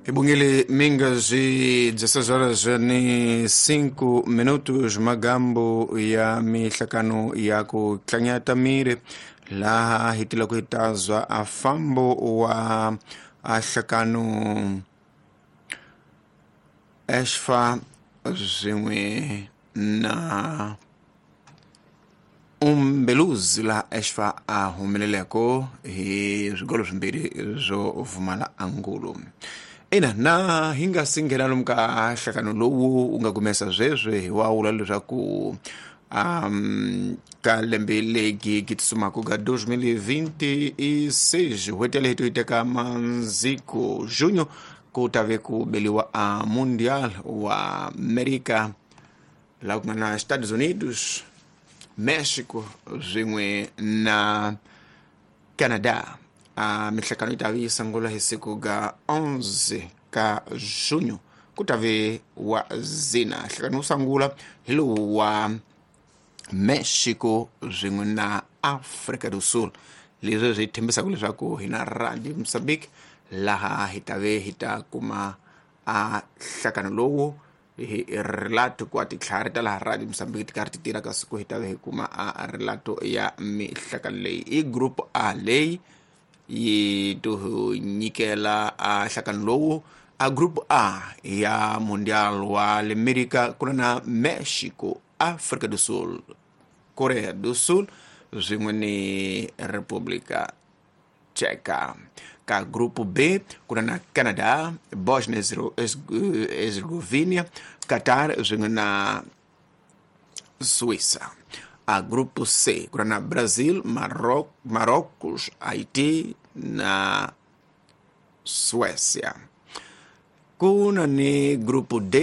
Ibungile mingazi 16 horas ni 5 minutos, magambo ya mihlakano ya ku tlanyata miri laha hi tila ku hitazwa a fambo wa a hlakano Eshfa swin'we na Umbeluzi, laha Eshfa a humeleleko hi swigolo swimbirhi swo vumala angulu. Ina, na hi nga si nghena lomu ka nhlakano lowu wu nga kumesa sweswi, hi wa vula leswaku ka lembe legi ki tsumaka ka 2026, n'hweti yaleyo to yi teka manziko junho, ku ta ve ku beliwa a Mundial wa America, laha ku nga na Estados Unidos, Mexico swin'we na Canada. A mihlakano yi ta ve yi sungula hi siku ga 11 ka junho, ku ta ve wa zina. Nhlakano wo sungula hi lowu wa Mexico swin'we na Africa do Sul, leswi swi tshembisaka leswaku hi na Radio Mozambique laha hi ta ve hi ta kuma a nhlakano lowu hi relato ku titlhari ta laha Radio Mozambique ti karhi ti tirha ka siku, hi ta ve hi kuma a relato ya mihlakano leyi. I Group A leyi yi to nyikela a nhlakano lowu. A Group A ya Mundial wa le America ku na Mexico, Africa do Sul, Korea do Sul swin'we ni Republika Tcheka. Ka Grupo B ku na Canada, Bosnia Herzegovina, Qatar swin'we na Suíça. A Grupo C ku na Brazil, Marrocos, Haiti na Suécia. Ku na ni Grupo D.